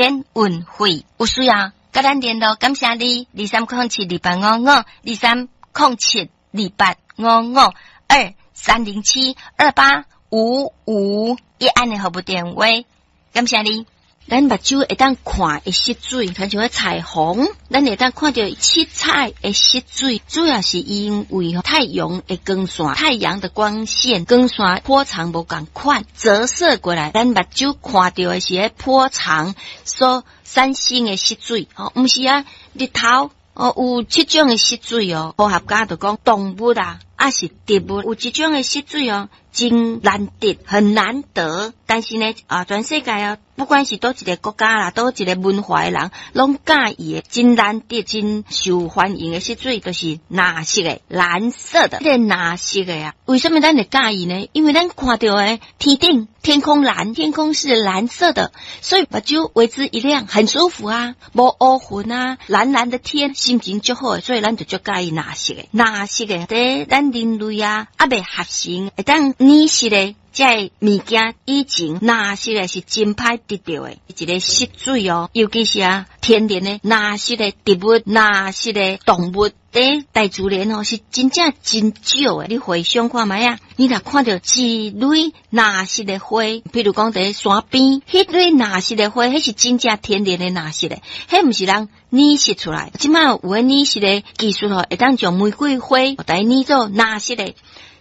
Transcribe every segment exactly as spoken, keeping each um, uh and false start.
免運費，有需要佮咱聯絡，感謝你，二三空七二八五五，二三空七二八五五，二三零七二八五五，一按的服務電話，感謝你。咱目睭會當看的色水，親像彼彩虹，咱會當看著七彩的色水，主要是因為太陽的光線，太陽的光線，光線波長無仝款，折射過來，咱目睭看著的是彼波長所產生的色水，吼，毋是啊，日頭哦有七種的色水哦，科學家就講動物啊，抑是植物有一種的色水哦，真難得，很難得。但是呢，啊，全世界啊，不管是佗一个國家啦，佗一个文化的人，攏佮意的，真難得、真受歡迎的色水，就是藍色的、藍色的。這个藍色的啊，為什麼咱會佮意呢？因為咱看著的天頂天空藍，天空是藍色的，所以目睭為之一亮，很舒服啊，無烏雲啊，藍藍的天，心情足好的，所以咱就足佮意藍色的。藍色的，佇咱人類啊，猶未合成，會當染色的。這个物件以前藍色的是真歹得著的一个色水哦，尤其是啊天然的藍色的植物、藍色的動物，佇大自然哦是真正真少的。你回想看覓啊？你若看著一蕊藍色的花，比如講佇山邊，彼蕊藍色的花，彼是真正天然的藍色的，彼毋是人染色出來。這馬有彼染色的技術吼，會當將玫瑰花來染做藍色的。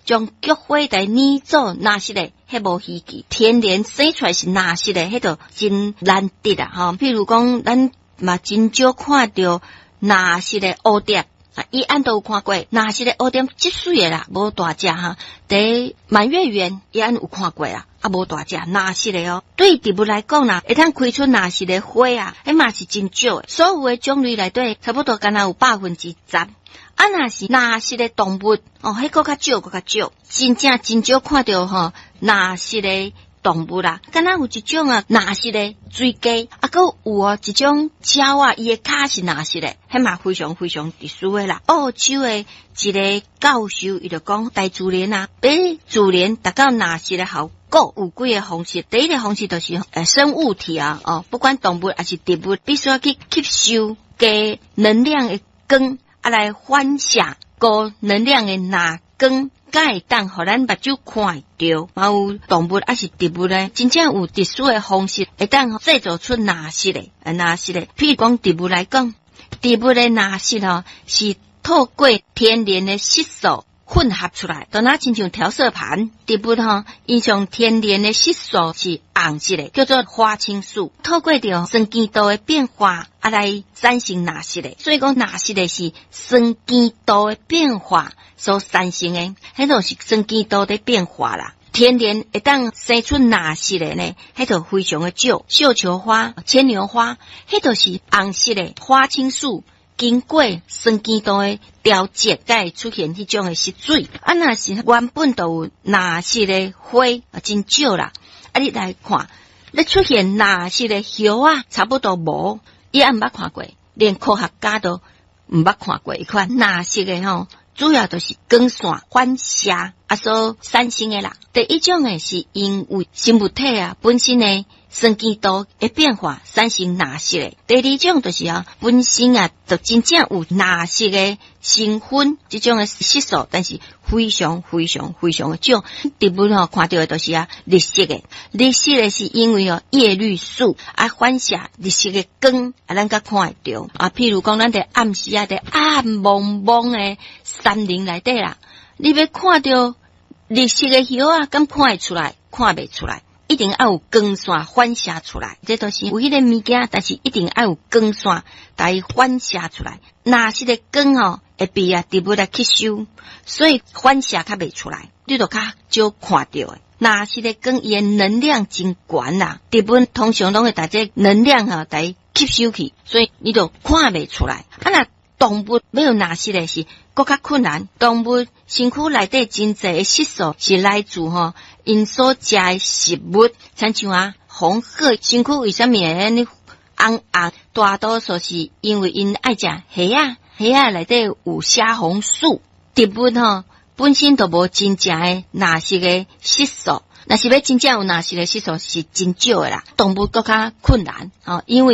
將菊花來染做藍色的，彼無稀奇。天然生出來是藍色的，彼就真難得啊！吼，譬如講，咱嘛真少看著藍色的蝴蝶啊，伊按都有看過藍色的蝴蝶，足媠的啦，無大隻哈。佇滿月圓，伊按有看過啦，啊，無大隻藍色的哦。對植物來講啦，會當開出藍色的花啊，彼嘛是真少的。所有的種類內底，差不多敢若有百分之十。啊，若是藍色的動物哦，彼閣較少，閣較少，真正真少看著吼藍色的動物啦。敢若有一種啊，藍色的水雞，啊，閣有哦一種鳥仔，伊的跤是藍色的，彼嘛非常非常特殊的啦。澳洲的一个教授，伊就講大自然啊，欲自然達到藍色的效果有幾个方式。第一个方式就是呃生物體啊，哦，不管動物抑是植物，必須要去吸收低能量的光。啊，來反射高能量的藍光，才會當予咱目睭看會著。嘛有動物抑是植物呢，真正有特殊的方式，會當製造出藍色的、藍色的。譬如講植物來講，植物的藍色吼是透過天然的色素混合出來，就若親像調色盤。植物吼，伊上天然的色素是紅色的，叫做花青素。透過著酸鹼度的變化，啊來產生藍色的。所以講藍色的是酸鹼度的變化所產生的，彼就是酸鹼度的變化啦。天然會當生出藍色的呢，彼就非常的少。繡球花、牽牛花，彼就是紅色的花青素。經過酸鹼度的調節，才會出現彼種的色水。啊，若是原本就有藍色的花，啊，真少啦。啊，你來看，咧出現藍色的葉仔，差不多無，伊也毋捌看過，連科學家都毋捌看過彼款藍色的吼，主要就是光線反射啊所產生的啦。第一種的是因為生物體啊本身的酸鹼度的變化產生藍色的。第二種就是啊，本身啊就真正有藍色的成分，這種的色素，但是非常非常非常的少。植物吼看著的就是啊綠色的，綠色的是因為哦葉綠素啊反射綠色的光啊，咱才看會著啊。譬如講，咱佇暗時啊，佇暗濛濛的山林內底啦，你欲看著綠色的葉仔，敢看會出來？看袂出來。一定愛有光線反射出來，這都是有彼个物件，但是一定愛有光線來反射出來。藍色的光吼會被啊植物來吸收，所以反射較袂出來，你就較少看著的。藍色的光伊的能量真懸啦，植物通常攏會共這能量吼來吸收去，所以你就看袂出來。啊，若動物欲有藍色的是閣較困難，動物身軀內底真濟的色素是來自吼𪜶所食的食物，親像啊紅鶴身軀為啥物會按呢紅紅？大多數是因為𪜶愛食蝦仔，蝦仔內底有蝦紅素。植物吼本身就無真正的藍色的色素，若是欲真正有藍色的色素是真少的啦，動物閣較困難，吼，因為。